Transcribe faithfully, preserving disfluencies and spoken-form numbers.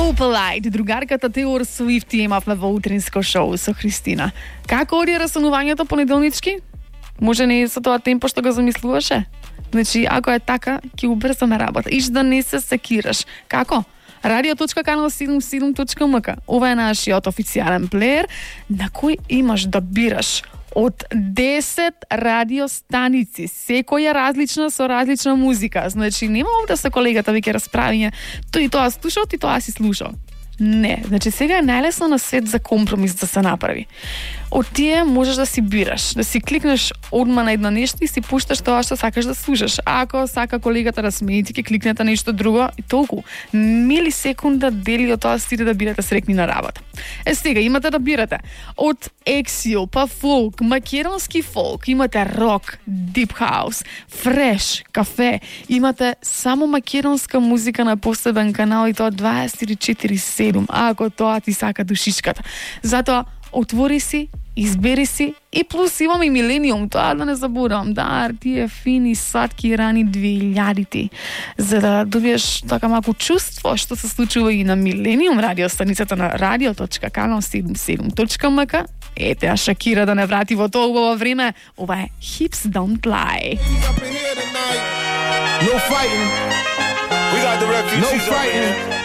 Opalite, другарката Тейлор Свифт имавме во утринско шоу со Христина. Како оди расонувањето понеделнички? Може не со тоа темпо што го замислуваше? Значи, ако е така, ќе убрзаме работа. Иш да не се секираш. Како? радио точка канал седумдесет и седум точка ем ка. Ова е нашиот официјален плеер на кој имаш да бираш од десет радиостаници, секоја различна со различна музика. Значи, нема овде со колегата веќе расправиње, тој тоа слушал, ти тоа си слушал. Не, значи сега е најлесно на свет за компромис да се направи. Од тие можеш да си бираш, да си кликнеш одма на едно нешто и си пушташ тоа што сакаш да слушаш. Ако сака колегата да смее, ти ќе кликнете нешто друго и толку. Милисекунда дели од тоа стиде да бидете срекни на работа. Е сега имате да бирате од ексил, па фолк, македонски фолк, имате рок, дип хаус, фреш, кафе, имате само македонска музика на посебен канал и тоа дваесет и четири седум, ако тоа ти сака душичката. Затоа отвори си, избери си и плюс имам и Милениум, тоа да не заборам, да, тие фини сладки рани двеилјадити, за да добиеш така малку чувство што се случува и на Милениум радиостаницата на радио точка канал седумдесет и седум точка ем ка. Ете, а Шакира да не врати во толкова време. Ова е Hips Don't Lie. No fighting. We got the refugees. No fighting.